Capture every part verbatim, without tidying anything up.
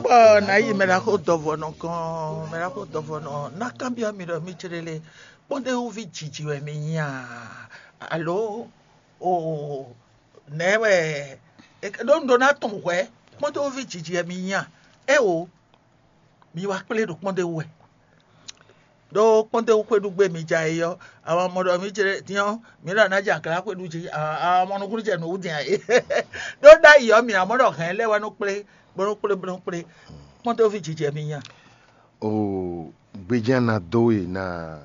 Bɔ nǎ yi mɛ ɖaxó dɔvɔnɔ gɔ́n, mɛ ɖaxó dɔvɔnɔ ná kanbyɔ́ mi ɖɔ mí jlé lé, kpɔ́ndéwúví jiji wɛ mi nyí a? Alo o nɛ̌ wɛ? Ɖó un ɖó ná tunwun hwɛ̌, kpɔ́ndéwúví jiji wɛ mi nyí a? Éwo, mi wá kplé ɖo kpɔ́ndéwú wɛ. Ɖó kpɔ́ndéwú xwéɖu gbé mi ja é ɔ́, àwọn ọmọ ɖɔ mí jlé dín ɔ́, mǐ ɖɔ ná jɛ aglǎ xwéɖu jí, àwọn ọmọ nukúnnú jɛ nǔ wú din ǎ é. Ɖó ɖ'ayǐ ɔ́, mi ǎ mɔ ɖɔ hɛ̌n lɛ́ɛ wɛ nɔ kplé, bó nɔ kplé, bó nɔ kplé. Kpɔ́ndéwúví jiji wɛ mi nyí a? O gbejɛ́n ná dó we ná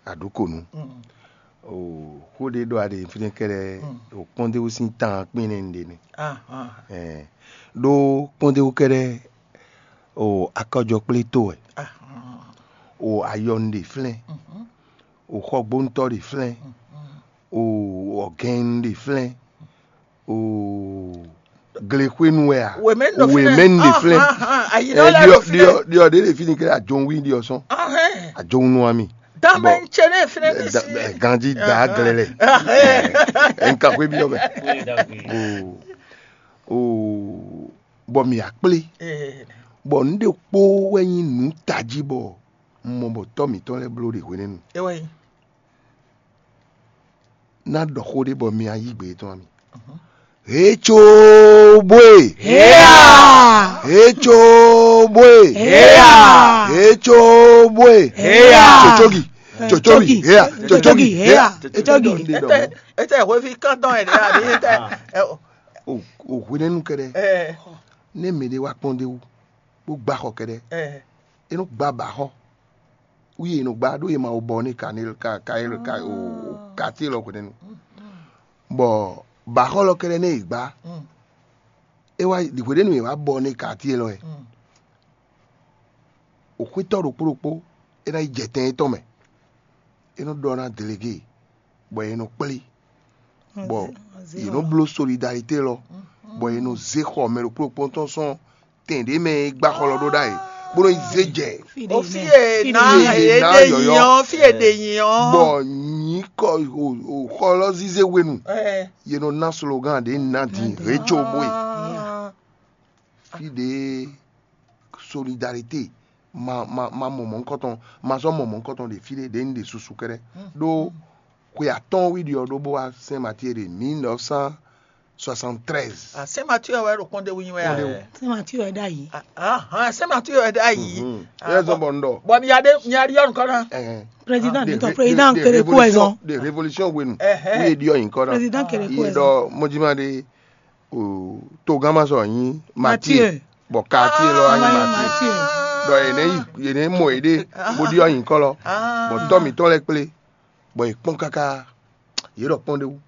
aɖǔkonu. O xó ɖé ɖɔ aɖe fínɛ́ kɛ́ɖɛ́, o kpɔ́ndéwú sín tan kpín nɛ́ un ɖe nɛ́. Ɛɛ, ɖó kpɔ́ndéwú kɛ́ɖɛ́, o akɔjɔkplé tó wɛ, o ayɔ un ɖe flɛ́n, o xɔgbóntɔ́ ɖe flɛ́n, o ɔgɛn un ɖe flɛ́n, o glexwénu wɛ a? Wěmɛ́nu ɖo fínɛ́. Wěmɛ́nu ɖe flɛ́n. Ahan, ahan, ayi Ɛ, ɖɔ lɛ́ɛ ɖiɔ ɖo fínɛ́. Ɖiɔ ɖiɔ ɖe ɖe fíni kɛ ajɔnwí ɖiɔ sɔn. Ahɛn. Ajɔnwí nú ami. Dame Bɔ- n tse ne fínɛ́ ní Da- si. Da- ganji da glɛ lɛ. Ɛn ka xwé byɔ́ mɛ. O o bɔ mi akplé. Ɛɛ, Bɔ nu ɖe kpó wɛ nyí nǔ tají bɔ un mɔ bɔ tɔ́ mǐtɔn lɛ́ɛ bló ɖe hwenɛ́nu. Ewɔ yi. Ná ɖɔ xó ɖé bɔ mi ayí gbe tɔn ami. Hecobwe. Heya! Hecobwe. Heya! Hecobwe. Heya! Tsotsogi. Tsotsogi. Heya! Tsotsogi. Heya! Tsotsogi. Ete ete hwevi kantɔn ene abi ete. O o hwenɛnu kɛɖɛ. Ɛ Ne mɛ ɖé wá kpɔ́n ɖé wú, bó gbá xɔ kɛɖɛ. Ɛ E nɔ gbá bǎ xɔ. Wú e nɔ gbá ɖó e ma wo bɔ n'i ka n'i ka ka e ka o ka ti lɔ hwenɛnu. Bɔ bǎ xɔ lɔ kɛɖɛ nɛ e gbá. É wá hwenɛnu e wá bɔ n'i ka ti lɔ ɛ. O xwítɔ́ ɖokpó ɖokpó é ná yi jɛ tɛn étɔn mɛ. É nɔ ɖɔ ná delege bɔ è nɔ kplé, bɔ yě nɔ bló solidarité lɔ, bɔ yě nɔ zé xɔ mɛ ɖokpó ɖokpó tɔn sɔn tɛn ɖě mɛ e gbá xɔ lɔ ɖó ɖ'ayǐ, bó nɔ yi zé jɛ. O fí e na Fí e e na ɖe yɔyɔ. Nyi ɔ́, fí e ɖe nyi ɔ́. Bɔ nyǐkɔ o- o xɔ lɔ zízé hwenu, Ɛ, yě nɔ ná slogan ɖě ná din Ná din. Ré tso bó e. Ah, Fí ɖě solidarité ma ma ma mɔ mɔ̌hunkɔtɔn, ma zɔ́ mɔ mɔ̌hunkɔtɔn ɖe fí ɖé ɖě un ɖe susu kɛ́ɖɛ́. Ɖó xwe atɔ́ɔ́n wí ɖi ɔ́ ɖó bó wá sɛn Matíe ɖe mille neuf cent soixante-treize. Ah, Saint Mathieu wɛ ɖo kpɔ́n ɖé wú nyi wɛ a? Kpɔ́n ɖé wú. Saint Mathieu wɛ ɖ'ayǐ. Ah, ah, Saint Mathieu wɛ ɖ'ayǐ. Mhm. Ah, Yɛ zɔn bɔ- bɔ n ɖɔ. Bɔ mi ya ɖe mi ya ɖi ɔnu kɔnɔ. Ɛhɛn. Président De nítɔ ré- président de- de kéré kó ɛ révolution- zɔn. De révolution wenu. Ɛhɛn. Wí e ɖi ɔyin kɔnɔ. Président kéré kó Yɛ ɛ zɔn. Dɔ mɔjima ɖe o togama sɔ nyi Mathieu. Mathieu. Bɔ quartier lɔ anyi Anyi Mathieu. Mathieu. Dɔ yene yi yene mɔ yi ɖe bó ɖi ɔyin kɔlɔ. Ah. Bɔ tɔ mitɔ lɛ kplé. Bɔ yi kpɔn kaka. Yé ɖɔ kpɔn ɖe wú.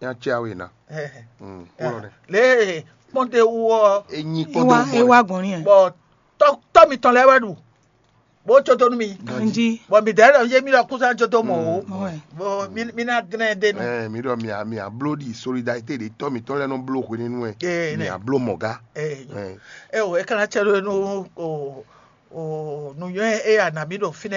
Nya tse awe na. Ɛhɛn. Mm, wúlɔ nɛ. Le kpɔn ɖe wú ɔ. Enyi kpɔn Ewa ɖe wú ewa gbɔn ni ɛ. Bɔ tɔ tɔ mitɔ lɛ wɛ ɖu. Bó tso tó nú mi. Ganji. Bɔ mi dɛ lɛ yé mi lɔ kúsa tso tó mɔ o. Mɔ ɛ. Bɔ mi mi na dlɛn de nu. Ɛ mi ɖɔ mi a mi a bló ɖi solidarité ɖe tɔ mitɔ lɛ nɔ bló hwenɛnu ɛ. Ee, mi nɛ. A bló mɔ ga. Ee. Ɛ. Ɛ o, e kana tsɛ ɖo nu o o nu yɔ e a na mi ɖo finɛ.